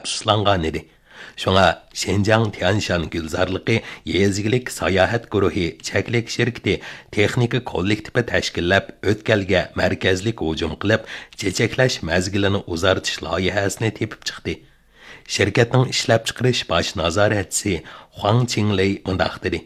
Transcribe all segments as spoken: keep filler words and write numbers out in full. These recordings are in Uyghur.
ئەپسۇسلانغانىدى. شۇڭا شىنجاڭ تيەنشان گۈلزارلىقى يېزا ئىگىلىك ساياھەت گۇرۇھى چەكلىك شىركىتى تېخنىكا كوللېكتىپى تەشكىللەپ، ئۆتكەلگە مەركەزلىك ھۇجۇم قىلىپ، چېچەكلەش مەزگىلىنى ئۇزارتىش لايىھەسىنى تېپىپ چىقتى. شىركەتنىڭ ئىشلەپچىقىرىش باش نازارەتچىسى خۇاڭ چىڭلېي مۇنداق دېدى: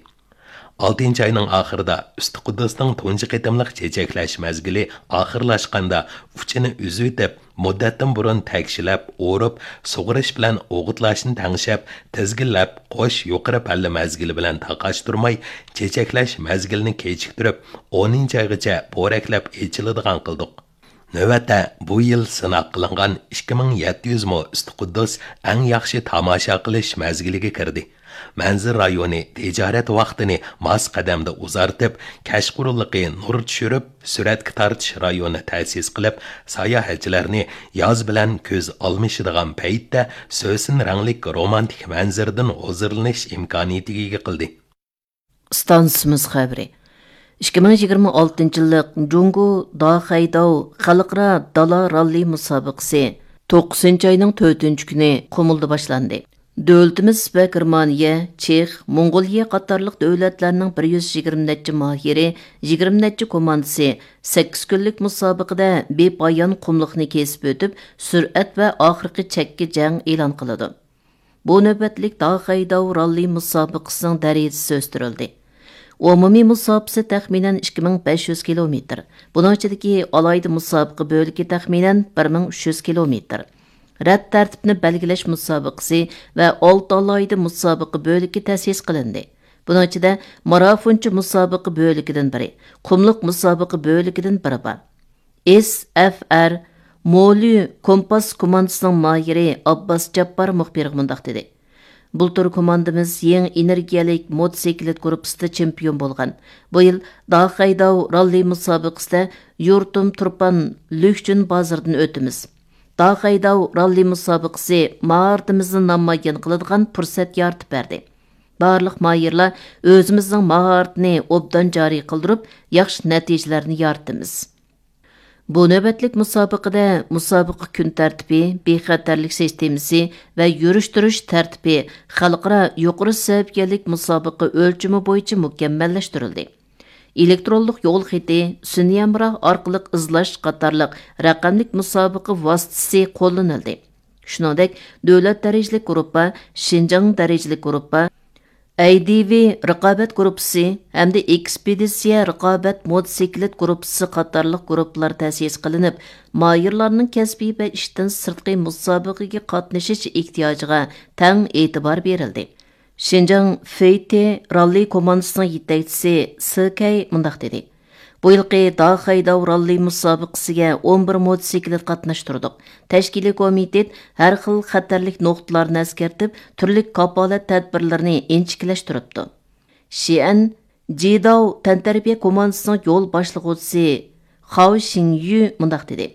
«ئالتىنچى ئاينىڭ ئاخىرىدا ئۈستى قۇددۇسنىڭ تۇنجى قېتىملىق چېچەكلەش مەزگىلى ئاخىرلاشقاندا، ئۇچىنى ئۈزۈۋېتىپ، مۇددەتتىن بۇرۇن تەكشىلەپ، ئورۇپ، سۇغىرىش بىلەن ئوغۇتلاشنى تەڭشەپ، تىزگىنلەپ، قوش يۇقىرى پەللە مەزگىلى بىلەن تاقاشتۇرماي، چېچەكلەش مەزگىلىنى كېچىكتۈرۈپ، ئونىنچى ئايغىچە پورەكلەپ ئېچىلىدىغان قىلدۇق.» نۆۋەتتە بۇ يىل سىناق قىلىنغان ئىككى مىڭ يەتتە يۈز مو ئۈستى قۇددۇس ئەڭ ياخشى تاماشا قىلىش مەزگىلىگە كىردى. مەنزىرە رايونى تىجارەت ۋاقتىنى ماس قەدەمدە ئۇزارتىپ، كەچقۇرۇنلۇقى نۇر چۈشۈرۈپ، سۈرەتكە تارتىش رايونى تەسىس قىلىپ، ساياھەتچىلەرنى ياز بىلەن كۈز ئالمىشىدىغان پەيتتە سۆسۈن رەڭلىك رومانتىك مەنزىرىدىن ھۇزۇرلىنىش ئىمكانىيىتىگە ئىگە قىلدى. ئىستانسىمىز خەۋىرى. ئىككى مىڭ يىگىرمە ئالتىنچى يىللىق جۇڭگو داخەيداۋ خەلقئارا دالا راللى مۇسابىقىسى توققۇزىنچى ئاينىڭ تۆتىنچى كۈنى قۇمۇلدا باشلاندى. دۆلىتىمىز ۋە گېرمانىيە، چېخ، موڭغۇلىيە قاتارلىق دۆلەتلەرنىڭ بىر يۈز يىگىرمە نەچچە ماھىرى، يىگىرمە نەچچە كوماندىسى سەككىز كۈنلۈك مۇسابىقىدە بىپايان قۇملۇقنى كېسىپ ئۆتۈپ، سۈرئەت ۋە ئاخىرقى چەككە جەڭ ئېلان قىلىدۇ. بۇ نۆۋەتلىك داخەيداۋ راللى مۇسابىقىسىنىڭ دەرىجىسى ئۆستۈرۈلدى. ئومۇمىي مۇساپىسى تەخمىنەن ئىككى مىڭ بەش يۈز كىلومېتىر. بۇنىڭ ئىچىدىكى ئالاھىدە مۇسابىقە بۆلىكى تەخمىنەن بىر مىڭ ئۈچ يۈز كىلومېتىر. رەت تەرتىپنى بەلگىلەش مۇسابىقىسى ۋە ئالتە ئالاھىدە مۇسابىقە بۆلىكى تەسىس قىلىندى. بۇنىڭ ئىچىدە مارافونچە مۇسابىقە بۆلىكىدىن بىرى، قۇملۇق مۇسابىقە بۆلىكىدىن بىرى بار. ئېس ئەف ئەر مولى كومپاس كوماندىسىنىڭ ماھىرى ئابباس جاپپار مۇخبىرغا مۇنداق دېدى: «بۇلتۇر كوماندىمىز يېڭى ئېنېرگىيەلىك موتوسىكلىت گۇرۇپپىسىدا چېمپىيون بولغان. بۇ يىل داخەيداۋ راللى مۇسابىقىسىدە يۇرتۇم تۇرپان لۈكچۈن بازىرىدىن ئۆتىمىز. داخەيداۋ راللى مۇسابىقىسى ماھارىتىمىزنى نامايان قىلىدىغان پۇرسەت يارىتىپ بەردى. بارلىق ماھىرلار ئۆزىمىزنىڭ ماھارىتىنى ئوبدان جارى قىلدۇرۇپ، ياخشى نەتىجىلەرنى يارىتىمىز.» بۇ نۆۋەتلىك مۇسابىقىدە مۇسابىقە كۈن تەرتىپى، بىخەتەرلىك سىستېمىسى ۋە يۈرۈشتۈرۈش تەرتىپى خەلقئارا يۇقىرى سەۋىيەلىك مۇسابىقە ئۆلچىمى بويىچە مۇكەممەللەشتۈرۈلدى. ئېلېكترونلۇق يول خېتى، سۈنئىي ھەمراھ ئارقىلىق ئىزلاش قاتارلىق رەقەملىك مۇسابىقە ۋاسىتىسى قوللىنىلدى. شۇنىڭدەك، دۆلەت دەرىجىلىك گۇرۇپپا، شىنجاڭ دەرىجىلىك گۇرۇپپا، ئەيدىۋى رىقابەت گۇرۇپپىسى ھەمدە ئېكسپېدىتسىيە رىقابەت موتوسىكلىت گۇرۇپپىسى قاتارلىق گۇرۇپپىلار تەسىس قىلىنىپ، ماھىرلارنىڭ كەسپىي ۋە ئىشتىن سىرتقى مۇسابىقىگە قاتنىشىش ئېھتىياجىغا تەڭ ئېتىبار بېرىلدى. شىنجاڭ فېيتې راللى كوماندىسىنىڭ يېتەكچىسى سې كەي مۇنداق دېدى: «بۇ يىلقى داخەيداۋ راللى مۇسابىقىسىگە ئون بىر موتوسىكلىت قاتناشتۇردۇق. تەشكىلىي كومىتېت ھەر خىل خەتەرلىك نۇقتىلارنى ئەسكەرتىپ، تۈرلۈك كاپالەت تەدبىرلىرىنى ئىنچىكىلەشتۈرۈپتۇ.» شىئەن جىداۋ تەنتەربىيە كوماندىسىنىڭ يول باشلىغۇچىسى خاۋ شىڭيۈ مۇنداق دېدى: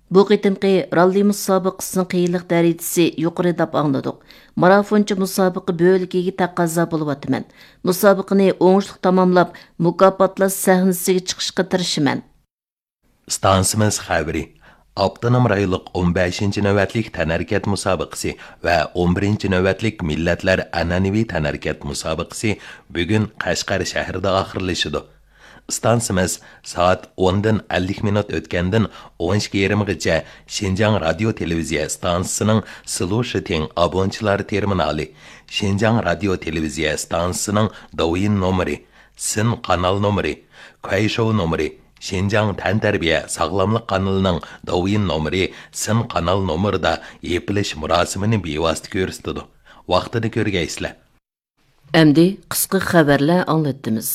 «بۇ قېتىمقى راللى مۇسابىقىسىنىڭ قىيىنلىق دەرىجىسى يۇقىرى دەپ ئاڭلىدۇق. مارافونچە مۇسابىقە بۆلىكىگە تەقەززا بولۇۋاتىمەن. مۇسابىقىنى ئوڭۇشلۇق تاماملاپ، مۇكاپاتلاش سەھنىسىگە چىقىشقا تىرىشىمەن.» ئىستانسىمىز خەۋىرى. ئاپتونوم رايونلۇق ئون بەشىنچى نۆۋەتلىك تەنھەرىكەت مۇسابىقىسى ۋە ئون بىرىنچى نۆۋەتلىك مىللەتلەر ئەنئەنىۋى تەنھەرىكەت مۇسابىقىسى بۈگۈن قەشقەر شەھىرىدە ئاخىرلىشىدۇ. ئىستانسىمىز سائەت ئوندىن ئەللىك مىنۇت ئۆتكەندىن ئون ئىككى يېرىمغىچە شىنجاڭ رادىيو تېلېۋىزىيە ئىستانسىسىنىڭ سلۇشىتىڭ ئابونتچىلار تېرمىنالى، شىنجاڭ رادىيو تېلېۋىزىيە ئىستانسىسىنىڭ دوۋيىن نومۇرى، سىن قانال نومۇرى، كۇەيشوۋ نومۇرى، شىنجاڭ تەنتەربىيە ساغلاملىق قانىلىنىڭ دوۋيىن نومۇرى، سىن قانال نومۇرىدا يېپىلىش مۇراسىمىنى بىۋاسىتە كۆرسىتىدۇ. ۋاقتىدا كۆرگەيسىلەر. ئەمدى قىسقا خەۋەرلەر ئاڭلىتىمىز.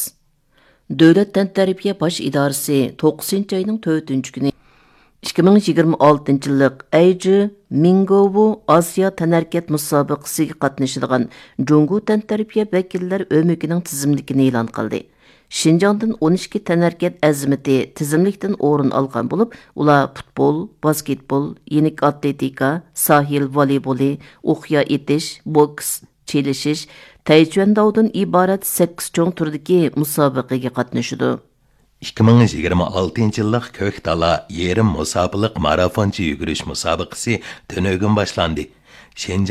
دۆلەت تەنتەربىيە باش ئىدارىسى توققۇزىنچى ئاينىڭ تۆتىنچى كۈنى ئىككى مىڭ يىگىرمە ئالتىنچى يىللىق ئەيجى مىڭگوۋۇ ئاسىيا تەنھەرىكەت مۇسابىقىسىگە قاتنىشىدىغان جۇڭگو تەنتەربىيە ۋەكىللەر ئۆمىكىنىڭ تىزىملىكىنى ئېلان قىلدى. شىنجاڭدىن ئون ئىككى تەنھەرىكەت ئەزىمىتى تىزىملىكتىن ئورۇن ئالغان بولۇپ، ئۇلار پۇتبول، باسكېتبول، يېنىك ئاتلېتىكا، ساھىل ۋولېيبولى، ئوقيا ئېتىش، بوكس، چېلىشىش، تەيچۈەنداۋدىن ئىبارەت سەككىز چوڭ تۈردىكى مۇسابىقىگە قاتنىشىدۇ. ئىككى مىڭ يىگىرمە ئالتىنچى يىللىق كۆك دالا يېرىم مۇساپىلىق مارافونچە يۈگۈرۈش مۇسابىقىسى تۈنۈگۈن باشلاندى. شىنجاڭ